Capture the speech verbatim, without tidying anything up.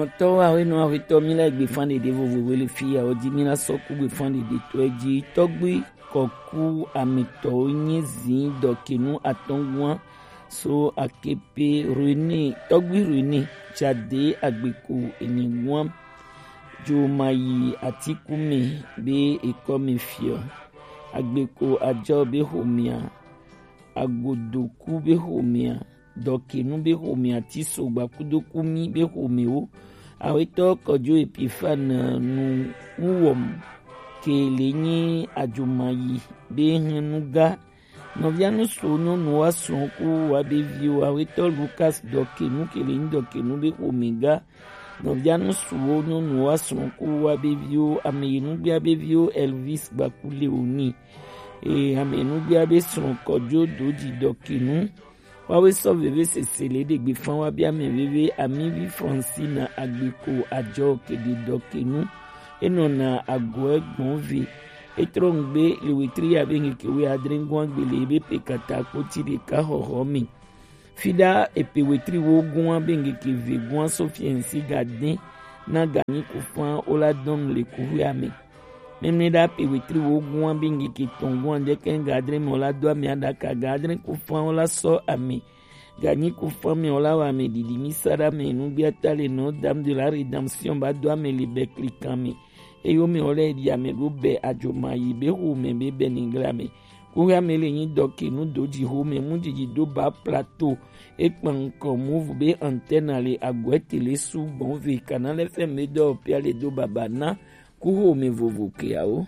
Tɔwo awe nɔ awe tɔ mi la gbe fan ɖeɖe vovovo le fi ya o di mi la sɔ ku gbe fan ɖeɖe tɔ ji tɔgbi kɔku ametɔwo nye zi dɔkenu atɔngua so akepe rene tɔgbi rene jade agbeko enyigua jomayi atikume be ekɔme fiɔ agbeko ajɔ be homea agodoku be homea dɔkenu be homea tiso gbakudokumi be homewo awetɔ kɔjo epifan nu nuwɔm ke le nyi ajomayi be hɛn nuga nɔvia nusu nyɔnu wa srɔ̃ ku wa be viwo awetɔ lukas dɔkenu ke le nyi dɔkenu be homega nɔvia nusuwo nyɔnu wa srɔ̃ ku wa be viwo ameyinugbia be viwo elvis gbaku leoni eye ameyinugbia be srɔ̃ kɔjo doji dɔkenu Wawe sɔ veve sese le ɖe gbe fan wa bia mɛ veve amivi Francina agbeko ajɔ keɖe dɔkenu enɔna agɔɛ gbɔn ve etrɔ ŋgbe le wetri ya be ŋkeke we adre ŋgɔn agbe le ebe pe kata kpoti ɖeka xɔxɔ me fiɖa epe wetri wo gɔn be ŋkeke ve gɔn sofiɛnsi ga dɛn na ganyi kufan wo la dɔn le kuxuia me Mɛmlɛ ɖa pe wetri wo gua be ŋkeke tɔn gua dɛkɛ ga adre mɛ la do ame aɖaka ga adre kufan la sɔ ame ganyi kufan mɛ la wa ame ɖiɖi mi sa ɖa mɛ nugbiata le nɔ dam de la redemption ba do ame le bɛ klikan mɛ eyo mɛ la ɖi ame ɖo bɛ adzoma yi be ho mɛ be bɛ nigla mɛ kuxia mɛ le nyi dɔke nu do dzi ho mɛ mu dzidzi do ba plateau ekpan ŋkɔ move be antenne le agɔɛ tele su gbɔn ve kana lɛ fɛ mɛ dɔ pia le do baba na Kuxome vovo keawo.